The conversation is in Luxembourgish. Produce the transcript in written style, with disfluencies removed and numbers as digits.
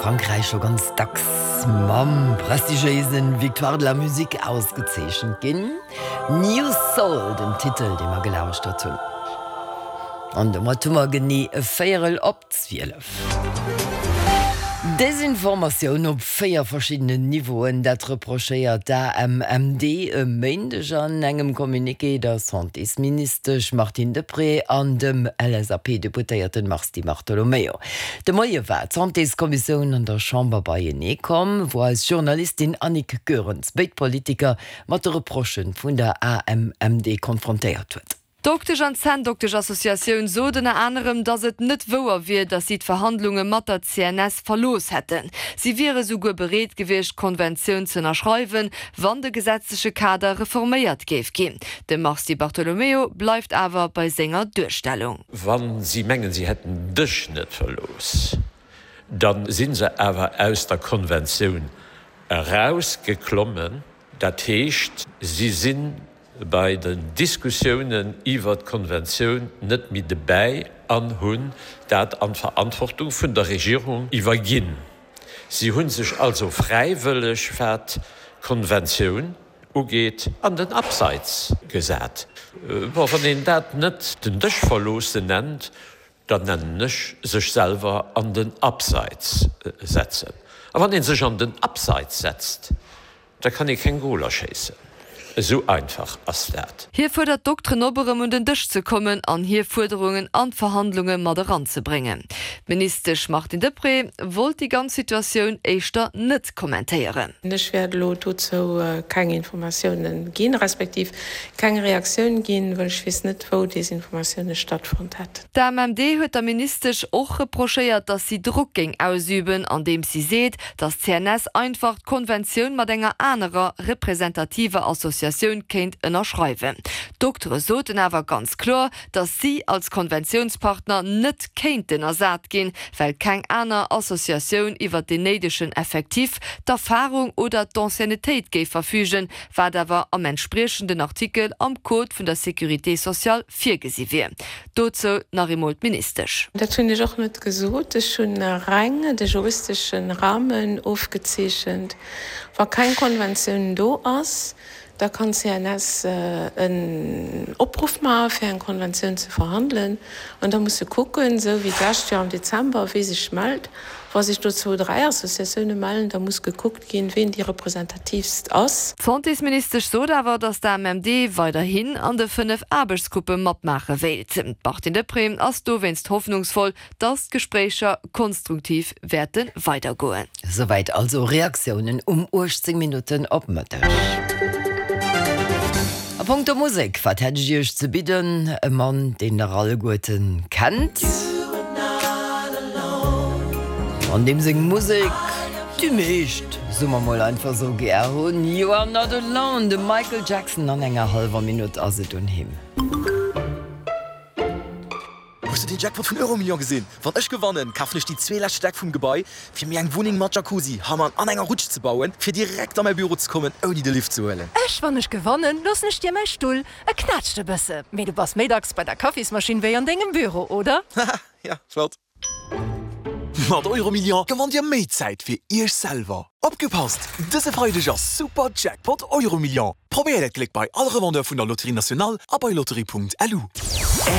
Frankräich scho ganz dacks mam prestigiéise Victoires de la Musique ausgezeechent ginn. New Soul, den Titel, dee mer gelauschtert hunn. An domat hu mer genee e Véierel op 12. Desinformatioun op 4 verschiddenen Niveauen, dat reprochéiert d'AMMD e Méindeg an engem Communiqué der Santésministesch Martine Deprez an dem LSAP-Deputéierten Mars Di Bartolomeo. De Moie war d'Santéskommissioun an der Chamber beienee komm, wou eis Journalistin Annick Goerens béid Politiker mat de Reprochë vun der AMMD konfrontéiert huet. D'Doktesch an d'Zänndoktesch-Associatioun sot ënner anerem, datt et net wouer wier, datt si d'Verhandlunge mat der CNS verlooss hätten. Si wiere souguer bereet gewiescht, d'Konventioun ze ënnerschreiwen, wann de gesetzleche Kader reforméiert géif ginn. De Mars Di Bartolomeo bleift awer bei senger Duerstellung. Wa si mengen, si hätten Dësch net verlooss, da si se awer aus der Konventioun erausgeklommen. Dat heescht, si si bei den Diskussiounen iwwert d'Konventioun net méi debäi an hunn dat an d'Verantwortung vun der Regierung iwwerginn. Si hu sech also fräiwëlleg, wat d'Konventioun ugeet, an den Abseits gesat. Bon, wann een dat net den Dësch verloossen nennt, da nennen ech sech selwer an den Abseits setzen. A wann ee sech an den Abseits setzt, Da kann ee keng Goler schéissen. Esou einfach ass dat. Hie fuerdert d'Dokteren op, erëm un den Dësch ze kommen an hir Fuerderungen an d'Verhandlunge mat eranzebréngen. D'Ministesch Martine Deprez wollt déi ganz Situatioun éischter net kommentéieren. Ech wäert elo dozou keng Informatiounen ginn, respektiv keng Reaktioun ginn, well ech weess net, wou Desinformatioune stattfonnt hätten. D'AMMD huet der Ministesch och reprochéiert, datt si Drock géing ausüben, andeems si seet, datt d'CNS einfach d'Konventioun mat enger anerer representativer Associatioun kéint ënnerschreiwen. D'Doktere soten awer ganz kloer, datt si als Konventiounspartner net kéinten ersat ginn, well keng aner Associatioun iwwer deen néidegen Effectif, d'Erfarung oder d'Anciennetéit géif verfügen, wat awer am entspriechenden Artikel am Code vun der Sécurité sociale virgesi wier. Dozou nach eemol d'Ministesch. Dat hunn ech och net gesot. Ech hunn reng de juristesche Rahmen ofgezeechent. Wa keng Konventioun do ass, da kann d'CNS en Opruff maache fir eng Konventioun ze verhandelen. An da muss se kucken, esou wéi d'lescht Joer am Dezember, wee sech mellt. Wa sech do zwou, dräi Associatioune mellen, da muss gekuckt ginn, ween déi representatiivst ass. D'Santésministesch sot awer, datt d'AMMD weiderhin an de 5 Aarbechtsgruppe matmaache wéilt. D'Martine Deprez ass dowéinst hoffnungsvoll, datt d'Gespréicher konstruktiv wäerte weidergoen. Souwäit also Reaktiounen um 18 Minutten op Mëtteg. A punkto Musek, wat hätt ech Iech ze bidden? E Mann, deen der alleguerten kennt an deem seng Musek déi meescht, soe mer mol einfach sou, gär hunn. You are not alone, de Michael Jackson. An enger hallwer Minutt ass et un him. Hues de den Jackpot vun Euromillion gesinn? Wann ech gewannen, kafen ech déi zwee lescht Stäck vum Gebai, fir mir eng Wunneng mat Jacuzzi, Hammam an enger Rutsch ze bauen, fir direkt a mäi Büro ze kommen, ouni de Lift ze huelen. Ech, Wann ech gewannen, loossen ech dir mäi Stull. E knätscht e bësse, mee du bass méi dacks bei der Kaffismaschinn wéi an dengem Büro, oder? Haha, ja, flott. Mat Euromillion gewannt Dir méi Zäit fir Iech selwer. Opgepasst! Dëse Freideg ass Super Jackpot Euromillion! Probéiert Äert Gléck bei all Revendeur vun der Loterie Nationale a bei lotterie.lu.